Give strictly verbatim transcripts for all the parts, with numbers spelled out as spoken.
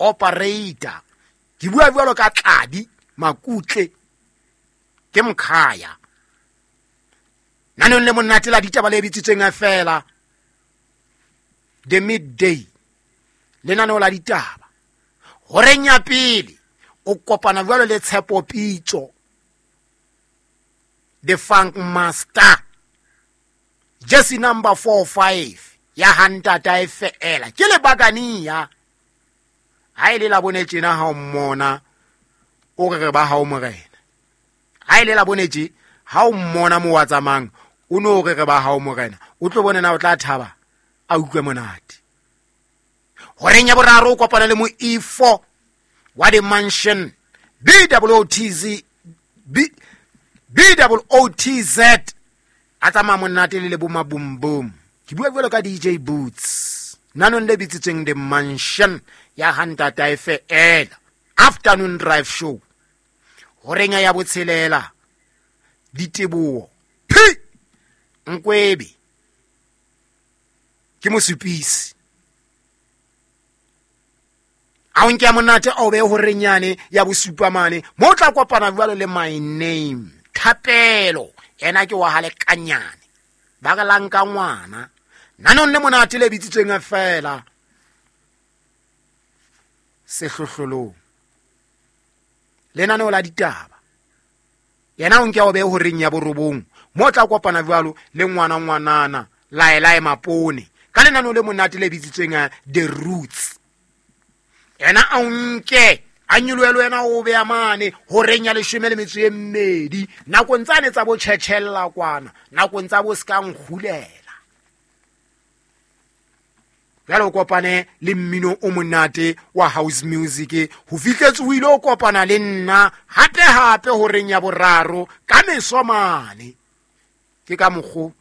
Operator ke bua jwalo ka Tladi Makutle ke Mkhaya nanong le monate la ditaba le bitsitsweng fela The Midday, lenaneo la ditaba. Horeng ya pele o kopana jwalo le Tshepo Pitso, the Funk Master, jersey number four five ya hantata e feela ke le bakania. Ha ile la bone tjena ha o mmona o re re ba ha o morena. Ha ile la bone tje ha o mmona mo wa tsamang o no re re ba ha o morena, o tlo bona na o tla thaba a utlwe monate. Horeng ya boraro o kopana le mo E four wa the Mansion, B O T Z B B O T Z, a tsamaya monate le le bo maboom boom. Ke bua jwalo ka D J Boots nanong le bitsitsweng The Mansion ya hantata e feela, afternoon drive show. Horeng ya botshelela Diteboho P Nkwebe ke mosupisi a o nke monate o be horeng yane ya bosupa mane mo tla kopana jwalo le My Name Thapelo, ena ke wa hale kanyane ba re lang ka ngwana nanong le monate le bitsitsweng fela Sehlohlolong, lenaneo la ditaba. Yena o nke o be horeng ya borobong mo tla kopana jwalo le ngwana ngwanana Laelae Mapone ka lenaneo le monate le bitsitsweng The Roots. Yena a nke a nyolohelwe wena o be mane horeng ya leshome le metso e mmedi nakong tsane tsa bo tjhetjhella kwana, nakong tsa bo ska nkgulela. Jwale o kopane le mmino o monate wa house music ho fihletse o ile o kopana le nna hape hape horeng ya boraro ka meso mane. Ke ka mokgo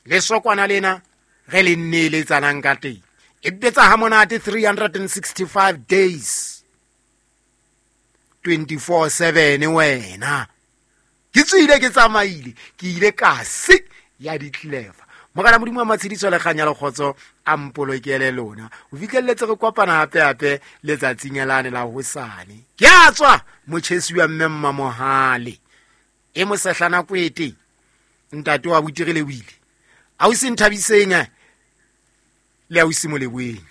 le sokwana lena re le nneeletsanang ka teng. E betsa ha monate three hundred sixty-five days twenty-four seven wena. Ke tswile ke tsamaile ke ile ka se ya ditleva. Morena Modimo wa matshediso le kganya le kgotso a mpolokele lona. O fihlelletse re kopana hape hape letsatsing lane la hosane. Ke a tswa motjhesi wa mme Mmamohale e mosehlana kwete ntate wa botirile wile. Ausi Nthabiseng le ausi Moleboeng.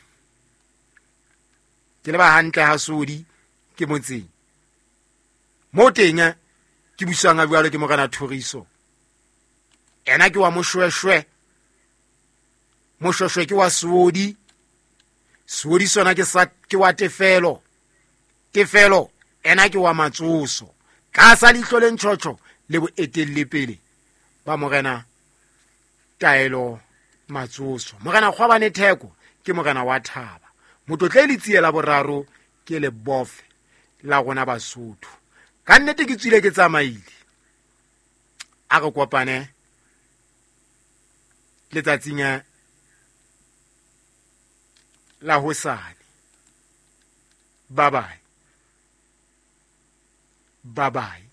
Ke le ba hantle ha sodi ke motseng. Mo teng ke busang a jwalo ke morena Thoriso. Ena ke wa Moshweshwe. Moshweshwe ke wa Sodi. Sodi sona ke sa ke wa Tefelo. Tefelo ena ke wa Matsoso. Ka sa leihlo le ntjhotjho le boetelle pele ba morena Taelo Matsoso. Morena Kgwabane Theko ke morena wa Thaba. Motlotle le tsiela boraro ke le bofe la rona Basotho. Ka nnete ke tswile ke tsamaile. A re kopane letsatsing la hosane. Bye bye. Bye bye.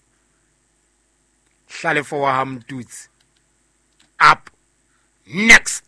Hlalefo wa ha Mtutsi. Up next.